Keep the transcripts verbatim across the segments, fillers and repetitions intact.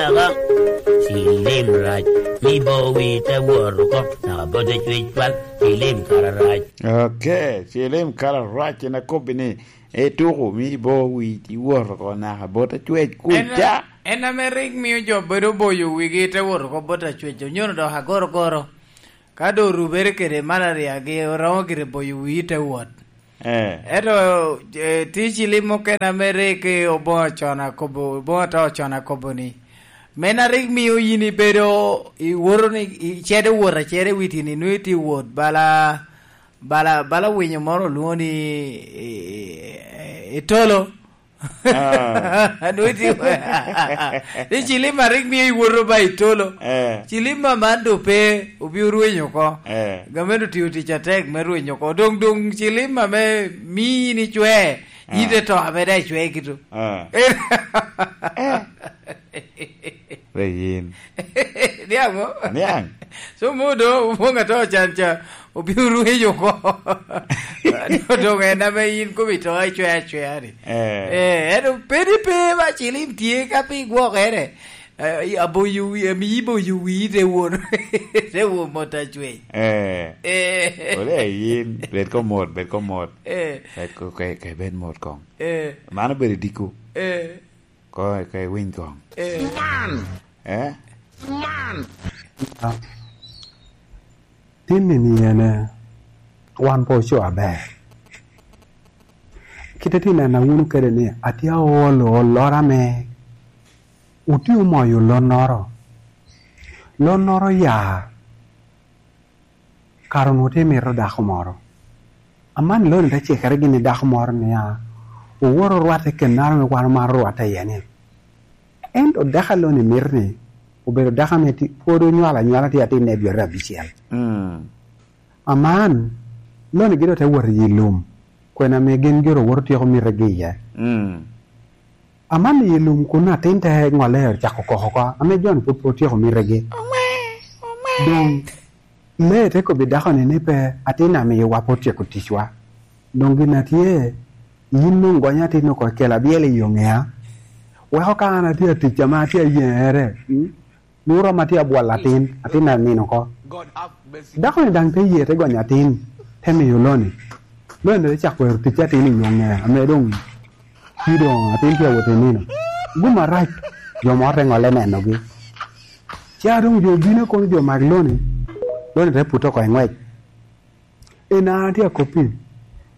Aka, cilim rac, mi bo wi te wot oko, naka bo te cwec cwal, cilim kara rac. Ok, cilim kara rac, en akobbi ni, ituko, mi bo wi iwot oko, naka bo te cwec En, kuca. En ame rik mio jo bedo boyo wigi te wot oko bot acwec, onyono dok agorogoro. Ka doŋ orubere kede malaria-gi, oromo gire boyo wii te wot. Eh. Ento, eh, tye cilim mukene ame rik oboŋo con akobo, oboŋo to con akobo ni, men a rik mio yin ibedo, iwoto ni, icedo wot aceda i wi tini, nwoŋo itye wot bala, bala, bala winyo moro olwoŋo ni, i, i, i tolo. Ah. Nwoŋo itye, ni cilim a rik mio iwoto ba i tolo. Eh. Cilim a man doŋ pe, obi orwenyo oko. Eh. Gamente otio tic atek me rwenyo oko. Doŋ, doŋ cilim ame mii in icwe, Ah. ite to ame daŋ icwe kito. Ah. Eh. Wek yin. Niaŋ mo? Niaŋ. So mo do, mo ŋat ocan ca, obiro rwenyo oko. Doŋ en ame yin kome to icwe acweya ni. Eh. Eh, ento pedi pe ba cilim tye ka pi gwokere. Eh, aboyo wi, amiyi boyo wi te won. Te won mot acwec. Eh. Eh. Ole yin, bed ko mot, bed ko mot. Eh. Bed ko, ke, ke bed mot kong. Eh. Mano bedo diko. Eh. Ko, ko iwiny kong. Eh. Man. Eh? Man. Tin ni ni en, eh, wan pe oco aber. Kite tin en awuno kede ni atye aolo olora me otye omoyo lonnoro. Lonnoro ya. Kara onwoŋo tye mito dako moro. Aman Loni te cikere gin i dako moro nia, owoto orwatte kennaro ame wan omaro rwatte iye ni. Ento dako a Loni mito ni obedo dako ame ti-, pwod onywalo anywala, tye atin me dwete abicel. Mm. Aman Loni gin doŋ te wot i lum, kwena ame gin gire owoto tyeko mitegi iye. Mm. Aman i lum kun atin te ŋolle ocako koko oko, ame jo-ni pwod pe otyeko mitegi. Doŋ lee te kobbi dako-ni ni, "Pe, atin amiyowa pe otyeko ticwa. Doŋ gin a tye, yin doŋ gony atin oko i kelo abyela i oŋea. Weko ka an atye atic ame atye ayeŋere, mm, nwoŋo rom atye abwolo atin, atin a nino oko." Dako-ni daŋ te ye te gonyo atin, te miyo Loni. Loni te cako wero tic atin i oŋea, ame doŋ tye doŋ atin tye awot i nino. Gum arac, jo moro te ŋolle nenogi. Ca doŋ jo obino kono jo mag Loni, Loni te pute oko i ŋwec. En a tye akoppi,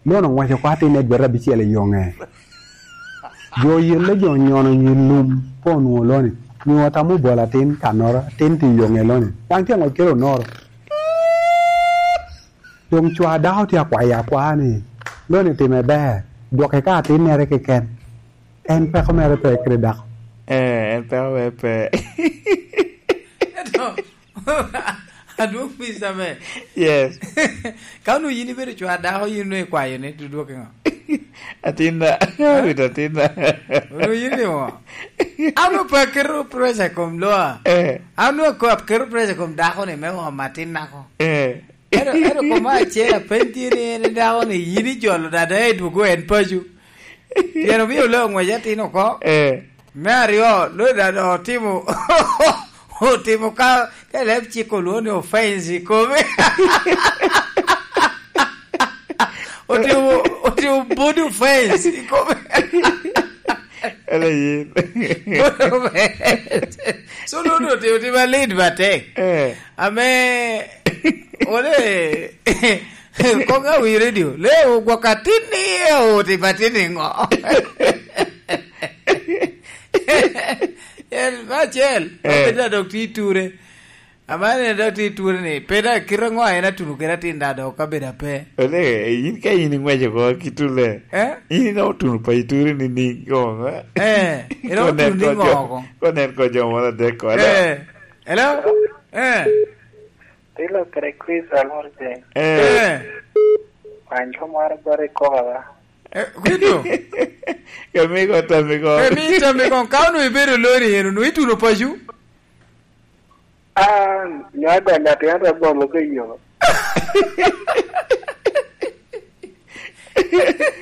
Loni oŋweco oko atin edwete abicel i oŋe. Jo oyelle, jo onyono i lum, pe onwoŋo Loni. Nwoŋo otamo obolo atin kannoro, atin tye i oŋe Loni. Daŋ tye aŋwec kede onoro. Doŋ cwa dako tye akwayo akwaya ni, Loni time ber, dwoke ka atinnere keken. En peko mere pe kede dako. Eh, en peko mere pe. Ento, adwoŋ pisa me. Yes. Ka onwoŋo yin ibedo cwa dako, yin onwoŋo ikwayo ni, to dwoke ŋo? Atinna. Eh? Awito atinna. Onwoŋo yin ni ŋo? An onwoŋo pe aketo pressure i kom loa. Eh. An onwoŋo aketo pressure i kom dako ni me omo atinna ko. Eh. Ento, ento koma acel apeny tye ni en dako ni yin ijolo dada i dwogo en paco. Pien omio le oŋwec atin oko. Eh. Me aryo, lo dada otimo, otimo ka, ka leb cik olwoŋo ni offense i kome. Otimo, otimo body offense i kome. Ele yin. Body offense. So, lo, lo, otimo, otimo alit matek. Eh. Ame, ole, kong awi radio, le ogwok atin ni, oti patin ni ŋo? En, me acel, eh, ma peda dok tye i ture. Ama en dok tye i ture ni, peda kite ŋo en atuno kede atin da dok ka bedo ape? Ole, yin ka yin iŋweco ko ki ture. Eh? Yin ino otuno pa i ture ni ni ŋo, eh? Eh, ino otuno ni ŋo ko? Konen ko jo moro adek ko, hello? Eh, hello? Eh. Tilo kede Chris Alorje. Eh. Eh. Wanjo moro bari koga ba. Eh, kwito. Kamigo, tamigo. Kami tamigo, ka onwoŋo ibedo lori en, onwoŋo ituno paco? Ah, nyo agonyo atin ata bolo ke yo.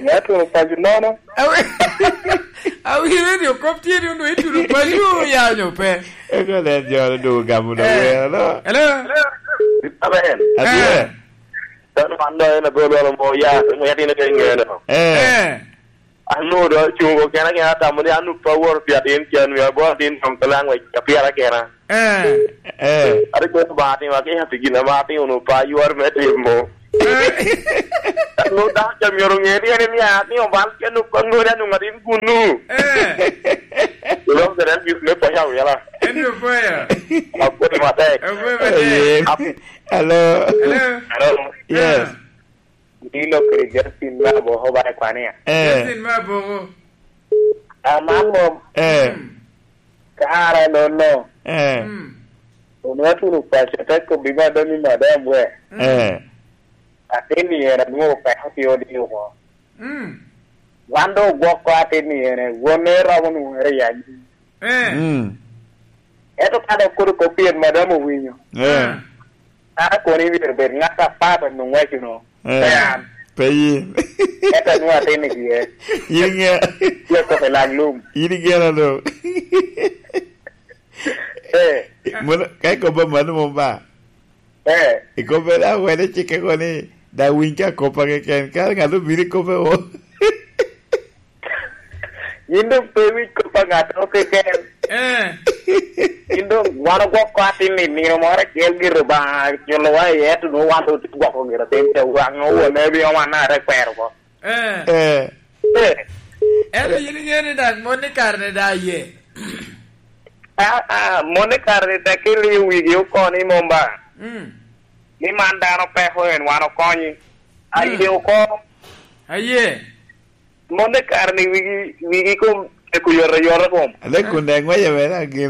Nyo atuno paco nono. Awe-, Awinyo ni okop tye ni onwoŋo ituno paco ya onyo pe? Eko nen jo ni dogo gamo dogo Eh. wero, no? Hello? Amen. Atye. Eh. Dano man doŋ en abedo lwalo mo ya, mo ya tine pe ŋeo no. Eh. Eh. An onwoŋo doŋ acungo kena kena atamo ni an opa woro pi atin can, wi agoro atin doŋ pe laŋ wek apira kena. Eh. Eh. Ate kono ba atimo, ake ati gin ama atimo, onwoŋo pa ywar me timo. Eh. Onwoŋo dako ca myero oŋe ni en nia atimo bal, ke onwoŋo kwan ŋodi anwoŋo atin gunu. Eh. Iloko kede en gis me paya wila. En yo paya. Apwoyo matek. Apwoyo matek. Aye. Ap- Hello. Hello. Hello. Yes. Ah. Dilo kede Justin me Aboko ba i kwania. Eh. Justin me Aboko. Aman mom. Eh. Mm. Kara nono. Eh. Mm. Onwoŋo atuno paco te kobbi madam i madam we. Mm. Eh. Atin ni en anwoŋo peko pi odi oko. Mm. Wan doŋ ogwoko atin ni en, wonne romo nwoŋere i anyim. Eh. Mm. Ento ka dok kodo kop pien madam owinyo. Eh. Eh. An akono myero bed ŋat apat onwoŋ wacuno. Eh. Pe an. Pe yin. Ento anwoŋo atin i diye. Yin ŋe. Tye kop i lang lum. Yin igena do. Eh. Mono, ka ikobo mano mom ba? Eh. Ikobbe daŋ wene cikke ko ni, daŋ winy ka koppa keken, ka ŋat obino ikobbe o. Yin doŋ pe iwiny kop a ŋattoro keken. Eh. Yin doŋ wan ogwoko atin i nino moro acel gire Obaŋa culowa iye, ento nwoŋo wan doŋ otye gwoko gire piny te waŋ owone bino wan a te kwero oko. Eh. Eh. Eh. Ento yin iŋeo ni daŋ mon i kare-ni daŋ aye. Ah, ah, mon i kare-ni tek iliyo wigi oko ni mom ba. Mm. Ni man dano peko en wan okonyi. Mm. Aye oko. Aye. Mon i kare-ni wigi, wigi kom tek oyotoyot kom. Ate kun daŋ ŋwece mere agin,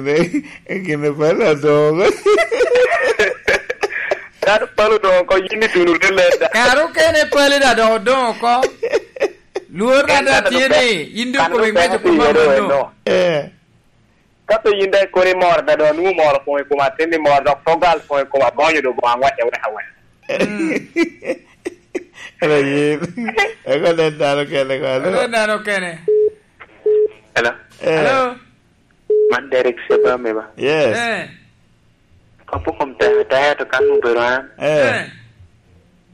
agin palo doŋ. Kadi palo doŋ oko, yin ituno lelel da. Kare okene pali da doŋ odoŋ oko. Lwor na da tye ni, yin doŋ kome ŋwece kom amanno. Eh. Ka pe yin daŋ kono imoro da, doŋ nwoŋo moro koŋ i kom atin ni moro, dok to gal koŋ i kom agonyo doŋ Obaŋa ŋwece wek awek. Mm. Ela yin. Eko nen dano kene ko, alo? Eko nen dano kene. Hello? Eh. Hello? Man Derek Seba me ba? Yes. Eh. Kop okom tek tek, to kan obedo an. Eh. Eh.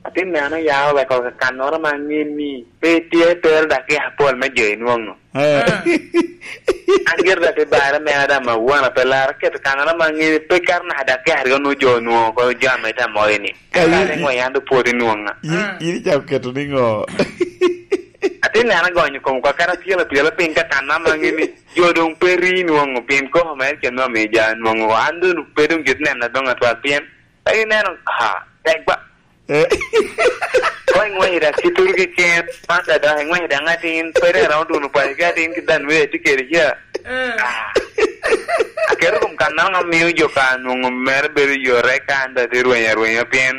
Atin neno ya oweko kannoro ma ŋin ni pe tye tero dakika apol me jo inwoŋo. Eh. Eh. An gire da te bare mera da ma wana pe laro keto kannoro ma ŋin pe kar naka dakika aryo nu jo onwoŋo ko jo ame ta moyo ni. Ka yin, yin, ŋo yan do pwod inwoŋa. Yin, ah, yin icako keto ni ŋo? Atin neno agonyo kom kwa kara pyelo pyelo piny ka kanna ma ŋin ni jo doŋ pe ri nwoŋo pien koko mere cen me omiyo ja nwoŋo. An doŋ pe doŋ git nena doŋ atwal pien pe ineno, ha, tek ba. Eh. Ko iŋwece da kituru keken, man da dok iŋwece daŋ atin, pe ri aromo duno paco ki atin ki dan wee tye kede ca. Eh. Ah. Aketo kom kan nano amiyo jo ka nwoŋo mere bedo yore ka an da tye rweny arwenya pien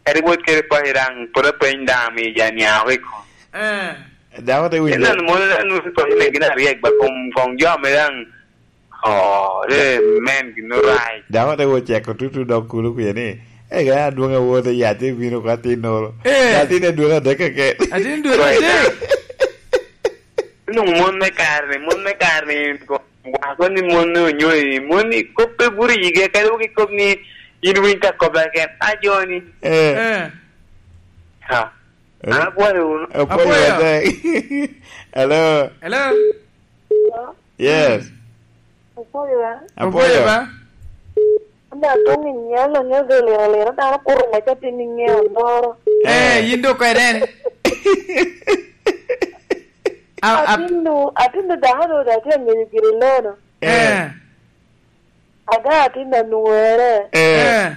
kadi wot kede paco daŋ pwod apeny daŋ amiyo ja niaŋ oko i kom. Eh. Dako te winyo. Ineno mon, ineno paco ne gin aryek ba kom, kom jo ame daŋ Oh, eh, men gin orac. Dako te wo ceko tutu dok kulo kuye ni, "Ega adwoŋ awote yac te bino ka tinnoro." Eh. Atin adwoŋ adek keken. Atin dwe adek. Nung mon me kare ni, mon me kare ni, wako ni mon ni onyo i, mon ni kop pe buri yige, kadi wuki kop ni, in winy ta kop eken, a joni. Eh. Eh. Ha. Eh. An apwoyo wunu. Apwoyo. Apwoyo matek. Hello. Hello. Yes. Apwoyo ba. Apwoyo. Apwoyo ba. Anda atong i nyalo nyo ge liro liro dano kuto me ka tin i nge ondoro. Eh, yin do kweden. A, a, atin nu, atin nu dano do da tye ngeyo giri lono. Eh. Ada atin na nuere. Eh. Eh.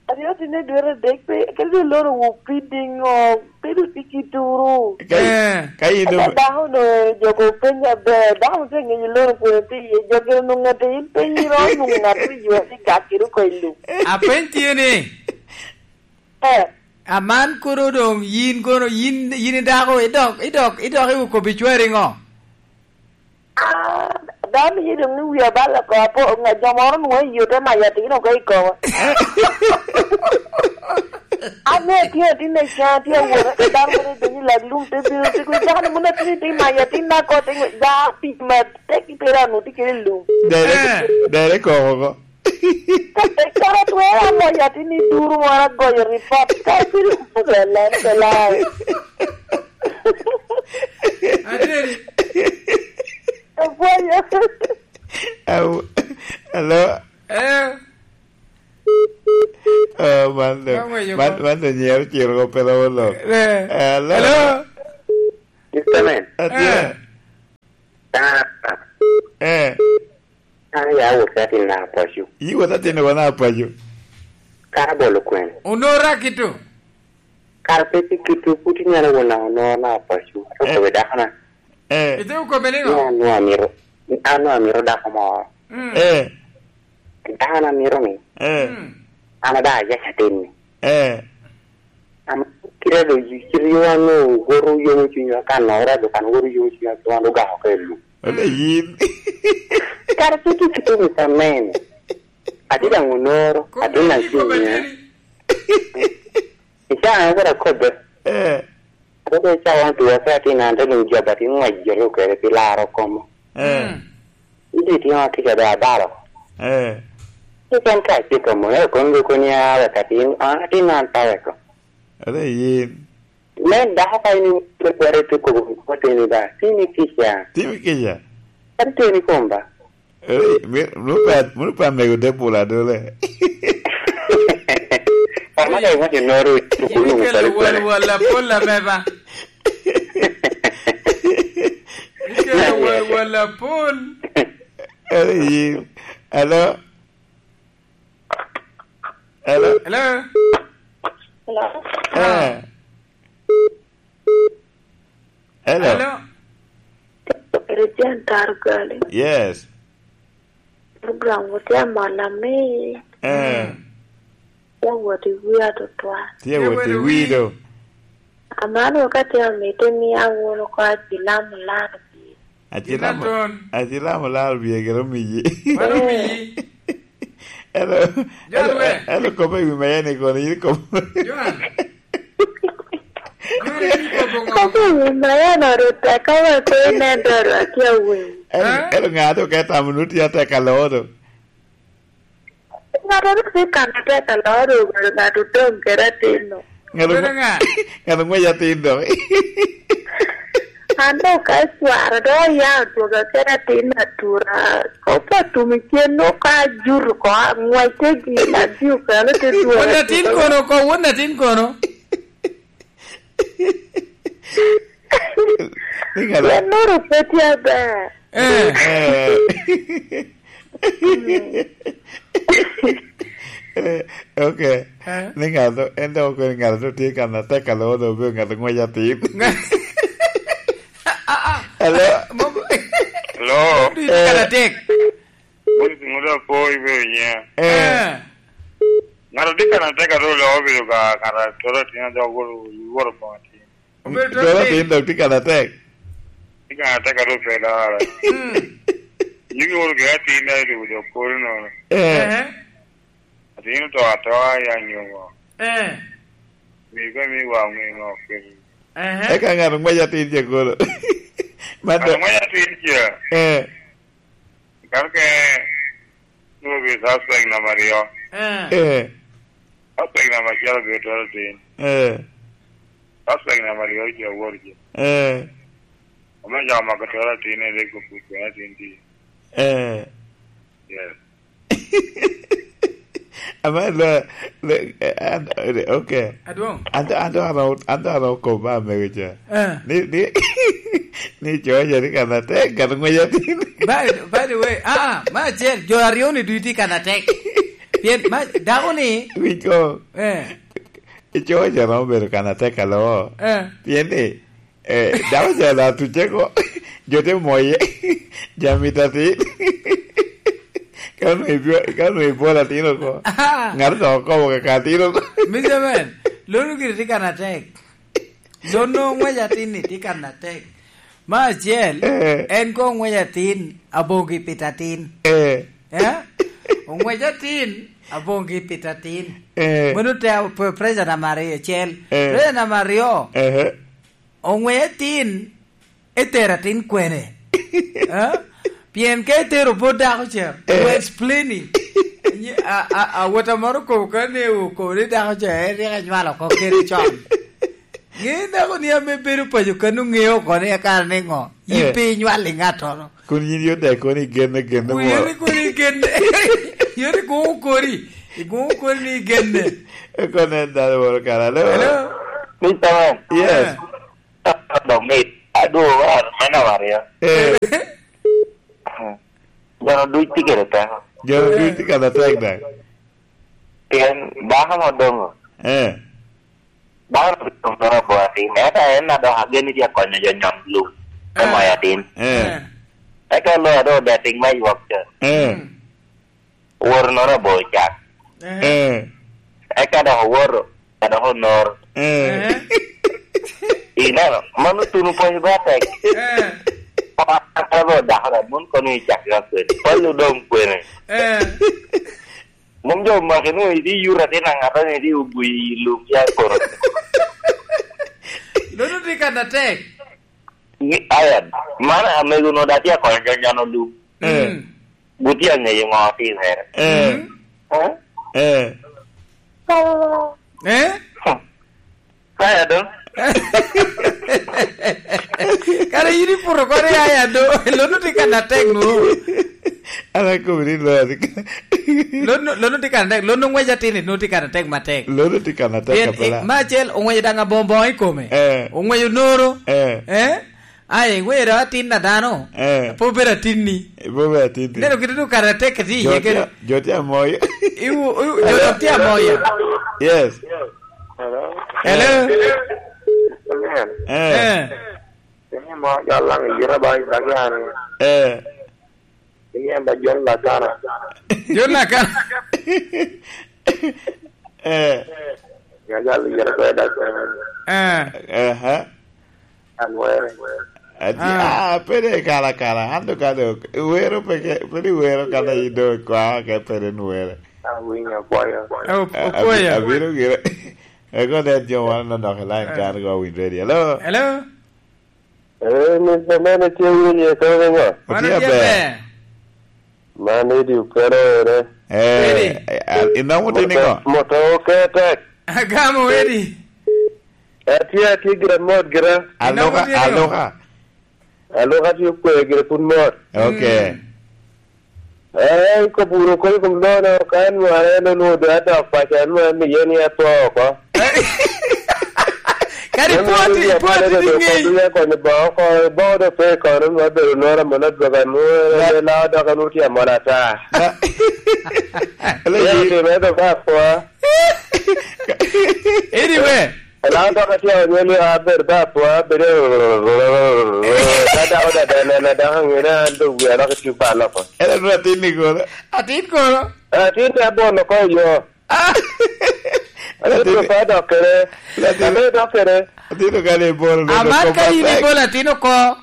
Aryo tye ni dwete adek pe, kadi dong loro wu pi diŋo, pe dong tye ki turu. Ka, eh, ka in dong dako no, joko penya ber, dako tye ŋeyo loro kwene tye iye, jo gire nwoŋo ŋat in pe iromo nwoŋo ŋat ri ywa tye gak kede oko i lum. Apeny tye ni, eh, aman kono dong yin kono, yin, yin i dako, idok, idok, idok i okobi cwari ŋo? Ah, dano ye dong ni wiya bal oko apo, nga jo moro nwoŋo i yote ma yat ino ka i kobo. An me atye atin i can, atye awot, aka dano moro idonyo i lak lum te bino, te kwe, dano moni atye, te mayo atin na ko, te ngwe, ja tic matek i pera nu, tye kede lum. Dere, Eh. dere koko ko. Ka, ka atwero amoyo atin i duru moro agoyo report, ka bino, lala, lala. Ateni. Apwoyo. Au, hello. Eh. Oh, man the, Ka ng'wenyo man, ko. man the nyero ciro ko pelo wolo. Eh. Hello. Hello. Mister Man. Atye. Eh. Ah. Eh. An ya wot ka tin na paco. Yi wot atin wa na paco. Kara bolo kwen. Onora kito. Kara pe ti kito, put inyalo wona onora na paco. To Eh. kobe dakona. Eh. Ite ukobe ni Ni ngo? an nwa miro. An nwa miro dako mo. Mm. Eh. Dako na miro ni. Eh. Mm. An ada ya chatin ni. Eh. Am, kite do, kite yo an owoto yomo cunya, kan ora do kan owoto yomo cunya, to an ogako ka i lum. Wala yin. Kara pe ti kite ni tamen. Ati daŋ onoro, Kobbe ati na ni, kobbe cunya. ni. Ica an kara kobbe. Eh. Kobbe ica wan tuwa ka ati na ante dum joba ti ŋwec jolo kede pi laro komo. Eh. Mm. Iti tino tika da abalo. Eh. Ikan ka cik mo, eh, kon go kon ya wek atin, ah, atin an pa weko. Ate yin. Men dako ka ini kwere te kobo ko teni ba, tini kica. Tini kica. Kan teni kom ba. Eh, mi, mu pa, mu pa mego de pula dole. Pama da iwacho noro, Yin kunu ikelo pale pale. Wal, wal apol ame ba. Ikelo wal, wal apol. Ate yin. Hello? Hello? Hello? Hello? Eh. Hello? Hello? Ere Jan Targali. Yes. Program wot ya mola me. Eh. Mm. Ya wot i wi atutwa. Tye wot i wi do. Amano ka tye amito ni awuno ko acilam lano. Acilam, Gin aton. Acilam olaro bye gero miyi. Mano miyi. Elo, John elo, we. Elo kopo i wi maya ni kono, yin kopo. John. John, yin kopo ngo? Kopo i wi maya no ru tek, ka wa ko inen doro atye awiny. Elo, Eh? Elo ŋa to ka tamo nu tye atek alodo. Ŋat a rik tye kan atek aloo ru obedo ŋat odoŋ kede atin-nu. Ŋat Bedo oŋwe-, ŋa? Ŋat oŋwec atin dok. An dok ka cwara dok oya odwoga kede atin atura. Kopo atum i cen nwoŋo ka ajuto oko, aŋwec te gin, adio kano te dwogo Won atin atura. Kono oko, won atin kono? Ni ŋat a- Ennoro pe tye aber. Eh. Eh. Eh, ok. Eh? Ni ŋat, en dok okobo ni ŋat a tye kan atek alo, dok obedo ŋat a ŋwec atin. Ah, ah. Hello? Mo-, Hello? Duk i kan atek. Ŋut, ŋut apo ibedo nya? Eh. Eh. Ŋat a tye kan atek alo, dok obedo ka ŋat a toro atin, a dok owoto, owoto boŋo atin. Obedo Dolo atin. Atin dok tye kan atek. Tye kan atek a ru pe dara. Mm. Nyigi woro gire atin na ilubo dok polo nono. Eh. Eh. Atin oto atoa ya nyongo. Eh. Mi ka mi wa mi ngo kiri. Eh. Eka ŋat ŋwec atin je kono. Man Ŋat do- ŋwec atin je. Eh. Kan ke, nwoŋo obedo suspect namba aryo. Eh. Eh. Suspect namba acel obedo toro atin. Eh. Suspect namba aryo oce awor je. Eh. Ame jo omako toro atin, en rik opuc kwene atin tye. Eh. Yes. Ama lo, lo, eh, an, eh, ok. Adwoŋ. An to, an to, an to, an to, an to kop ba mego ca. Eh. Ni, ni, ni coja ni kan atek, kan ŋwec atin. By, by the way, ah, ah, ma acel, jo aryo ni ducu tye kan atek. Pien, ma, dako ni. Winj ko. Eh. I coja romo bedo kan atek alo. Eh. Pien ni, Eh, dako ca la tucce ko, jo te moye, jami tatin. Ka onwoŋo ibyo-, ka onwoŋo ibwolo atin oko, Aha. Ŋat dok okobo kaka atin oko. Mister Man, lon gire tye kan atek. Lon nwoŋo ŋwec atin ni tye kan atek. Me acel, Eh. En koŋ ŋwec atin, aboŋo ki pito atin. Eh. Eh? Ong'wec atin, aboŋ gi pit atin. Eh. Mano te pe-, pressure namba aryo, acel. Eh. Pressure namba aryo, ehe, ong'wec atin, etero atin kwene? Eh? Pien ka etero bot dako ca, eh, we explaining. Nyi-, a, a, a, wota moro okobo ka ne okobo ni dako ca, en rik anywalo oko kede con. Ŋe dako ni ame bedo paco kano ŋeo oko ni akara ni ŋo? Yin, eh, pe inywal i ŋattoro. Kun yin yot dek kono igenne, genne. Kun yin moro, kono igenne. Yot igoŋo kori. Igoŋo kori ni igenne. Eko nen dano moro kara. Hello? Hello? Mister Man. Yes. Eh. Dok mit. Adwogo war, me namba aryo. Eh. Jona duc tye kede teko. Jona duc tye kede tek dek. Pien dako ma odoŋo. Eh. Dano rik obedo abor atin, ento en a dok ageni tye akonyo jo nyon lum me, eh, moyo atin. Eh. Eh. Eka loyo a dok odetting me ywok ca. Eh. Mm. Owoto nono abor cak. Eh. Eh. Eka dok owoto, a dok onoro. Eh. Eh. Ineno, mano tuno pwony ba tek. Eh. Ata lo dako da, mon kono i cak ga kwene. Pol odong kwene. Eh. Mom jo omaki nwoŋo itye i yuto atin aŋata ni itye i ogwi i lum ya kono. Lono tye kan atek. Ni, aya, man amego no da tye akonyo jo nyono lum. Eh. Mm. Gutye aŋeyo ŋo otimere. Eh. Mm. Eh? Eh? Eh? Kaya do. Kara yin iputo kore aya do. Lono tye kan atek no. An akobo ni lo. Lono, lono tye kan atek. Lono ng'wec atin, lono tye kan atek matek. Lono tye kan atek. Pien, apela. Eh, me acel, ong'weco daŋ aboŋo boŋo i kome. Eh. Ong'weco noro. Eh. Eh? Ai, ŋwero atin a dano. Eh. Pe obedo atinni. Eh, pe obedo atinni. Neno kite duk kare atek ka tye iye kede. Jo tye amoyo. Iwu-, iwu-, jo dok tye amoyo. Yes. Hello? Hello? Eh. Amen. Eh. Eh. Tini mo, jal lang i yita ba i dagi an. Eh. Inian ba John Lakana. John Lakana. Eh. Ya jal yere ko da ko. Eh. Aha. Anwere. Ati, ah, ah, pede kala kala. Ando ka do, wero peke, pede wero kala ido kwa, ke pede nwere. Awinyo, akwayo. Eh, o-, ah, okwayo. Abi-, abiro gire. Eko ne jo wan nonok i line, eh, kan go win ready. Hello? Hello? Eh, Mister Man, itye winyo i kome ŋo? Wan otye otye aber. Aber. Man idi okelo ere. Eh, Edi. Eh, ah, inomo tini ŋo? Moto, moto oketek. Agamo Edi. Atye, atye gira mot gira. Inomo tini ŋo? Aloka, aloka. Aloka tye okwe gira pud mot. Okay. Mm. Eh, ikobo wunu koni i kom lono, ka en nware en onwoŋo doŋ adok paco, en nware ni yen ya two oko. Kadi pwod, pwod tye ŋeny. Konyo boŋo oko, boŋo do pe kono, nwoŋo abedo nora mono adwoga, nwoŋo en lao dok en otye amol ata. Yen otimo ento ka akwa. Anyway. Ela dok atye onyo ni abedo ba apwa, abedo ka dako dada nena dako ngene an do wia lok itye ba loko. En abedo atin ni kono? Atin kono? Atin te abono ko yo. Ah! Atin atin. Pe dok kere. Atin. Abe dok kere. Atin okane ibolo. Aman ka in ibolo atin oko.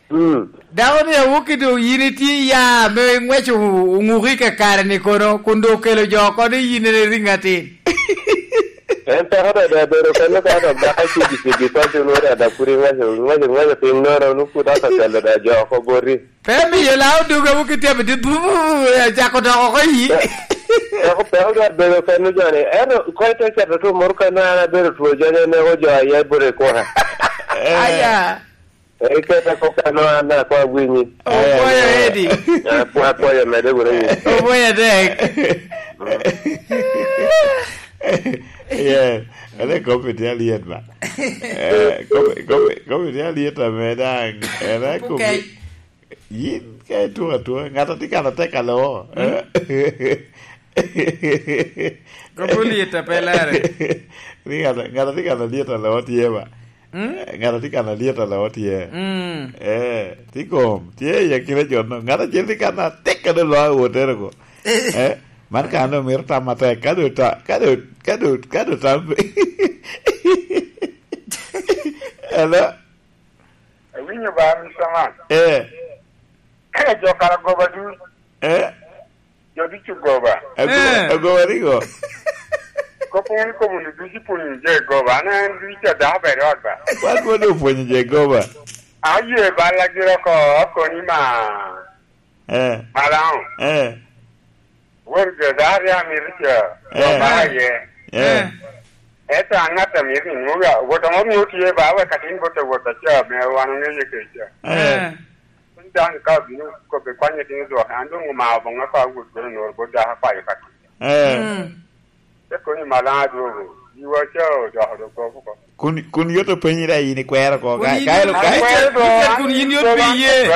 Mm. Dako ni awok i doŋ yin itye ya ame iŋweco oŋuki i kakare ni kono, kun doŋ okelo jo oko ni yin en iriŋ atin. En peko dada bedo kene ka dok dako cigi cigi paco nwoŋo dada pud iŋweco, iŋweco, iŋweco piny nono, nwoŋo pud dok okelo dada jo oko boti. Pe miyo la odogo awok i tebe dit, bu, bu, bu, acako dok oko yi. Peko, peko dada bedo kene joni. Ento ko ite keto tu moro kene an abedo two joni, aneko jo aye boti kuka. Aya. Iketa kop kano an daŋ akwa winyi. Opwoyo Edi. Apwo-, apwoyo mede wunu yi. Opwoyo atek. Yeah. Ene kopi tye alyet ba. Eh, kopi, kopi, kopi tye alyet ame daŋ. Ene kopi. Yin ka ituko atuka, ŋat a tye kan atek alo. Kopi olyet a pe lere. Ni ŋat, ŋat a tye kan alyet alo tye ba. Mm? Eh, ŋat a tye kan alyet alo tye. Mm. Eh, tye kom, tye i akina jo no. Ŋat acel tye kan atek kede lo awotere ko. Eh, man kan omito tam atek. Ka do ta-, ka do, ka do, ka do tam. Hello? Awinyo ba, Mister Man. Eh. Eh, jo kara goba dul. Eh. Jo Ducu goba. Ago-, Eh. agoba rigo. Kop wun ikobo ni ducu pwonyo je goba. An en ducu a dako ber i ot ba. Wan pwod opwonyo je goba. Aye balla gira oko, okoni ma. Eh. Malaŋo. Eh. Won jo dako ria mito ca. Eh. Goba aye. Eh. Eh. Ento an ŋat a mito ni nwoŋo wot amo mio tye ba wek atin bot a wot aca me wan oŋeye kece. Eh. Eh. Piny dano ka obino kobbe kwanye tin dwoke, an doŋ omao boŋo ka awot bino noro bot dako akwayo ka. Eh. Mm. Te koni malaŋ adwogo, yiwa ca odoko dok kop oko. Kun, kun yot openyi da yin ikwero ko, Kun ka, yin ka elo, ka ikwero do, kun yin yot pi iye.